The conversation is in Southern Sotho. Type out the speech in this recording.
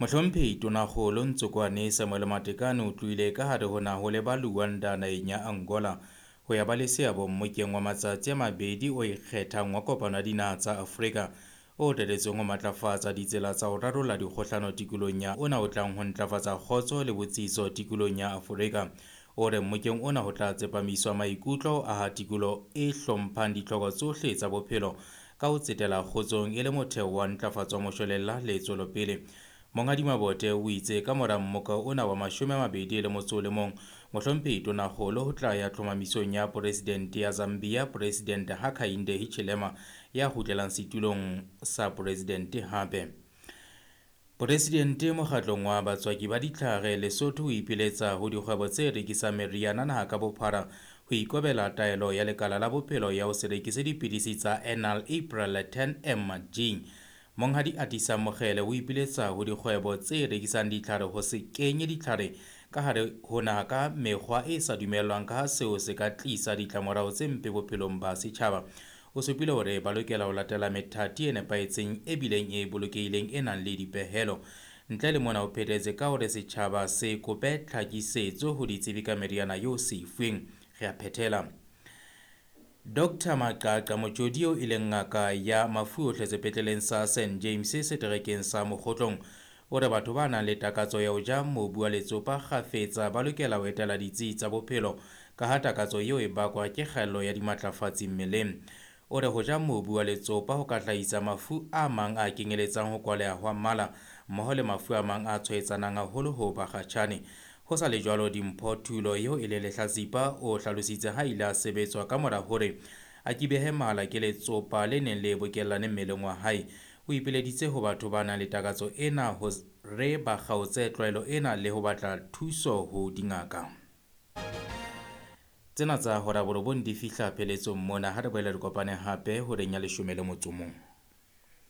Mohlomphehi Tonakgolo Ntsokoane Samuel Matekane o tlohile ka hare ho naha ho leba Luanda naheng ya Angola ho ya ba le seabo mmokeng wa matsatsi a mabedi o ikgethang wa kopano ya dinaha tsa Afrika o reretsweng ho matlafatsa ditsela tsa ho rarolla dikgohlano tikolohong ya ona o tlang ho ntlafatsa kgotso le botsitso tikolohong ya Afrika. O re mmokeng ona ho tla tsepamiswa maikutlo ho aha tikoloho e hlomphang ditlhoko tsohle tsa bophelo ka ho tsetela kgotsong e le motheo wa ntlafatso ya moshwelella le tswelopele. Monghadi Mabote o itse ka mora mmoka ona wa 21, Mohlomphehi Tonakgolo ho tla ya tlhomamisong ya Poresidente ya Zambia, Poresidente Hakainde Hichilema ya kgutlelang setulong sa poresidente hape. Poresidente mokgatlong wa batswaki ba ditlhare Lesotho o ipiletsa ho dikgwebo tse rekisang meriana naha ka bophara ho ikobela taelo ya lekala la bophelo ya ho se rekise dipidisi tsa Enal April 10 mg. Monghadi Atisa Mokgele o ipiletsa ho dikgwebo tse rekisang ditlhare ho se kenye ditlhare ka hare ho naha ka mekgwa e sa dumellwang ka ha seo se ka tlisa ditlamorao tse mpe bophelong ba setjhaba. O supile hore ba lokela ho latela methati e nepahetseng e bileng e bolokehileng e nang le dipehelo. Ntle le mona o phethetse ka hore setjhaba se kope tlhakisetso ho ditsebi ka meriana eo se e fuweng. Re a phethela. Dr Maqaqa Motjodi eo e leng ngaka ya mafu ohle sepetleleng sa St James seterekeng sa Mokgotlong o re batho ba nang le takatso ya ho ja mobu wa letsopa kgafetsa ba lokela ho etela ditsi tsa bophelo ka ha takatso eo e bakwa ke kgaello ya dimatlafatsi mmeleng. O re ho ja mobu wa letsopa ho ka hlahisa mafu a mang a kenyeletsang ho kwaleha hwa mala mmoho le mafu a mang a tshwaetsanang haholo ho bakgatjhane. Ho sa le jwalo, Dimpho Thulo eo e leng lehlatsipa o hlalositse ha ile a sebetswa ka mora hore a kibehe mala ke letsopa le neng le bokellane mmeleng wa hae. O ipileditse ho batho ba nang le takatso ena ho re ba kgaotse tlwaelo ena le ho batla thuso ho dingaka. Tsena tsa hora borobong di fihla pheletsong mona ha re boele re kopane hape horeng ya 11.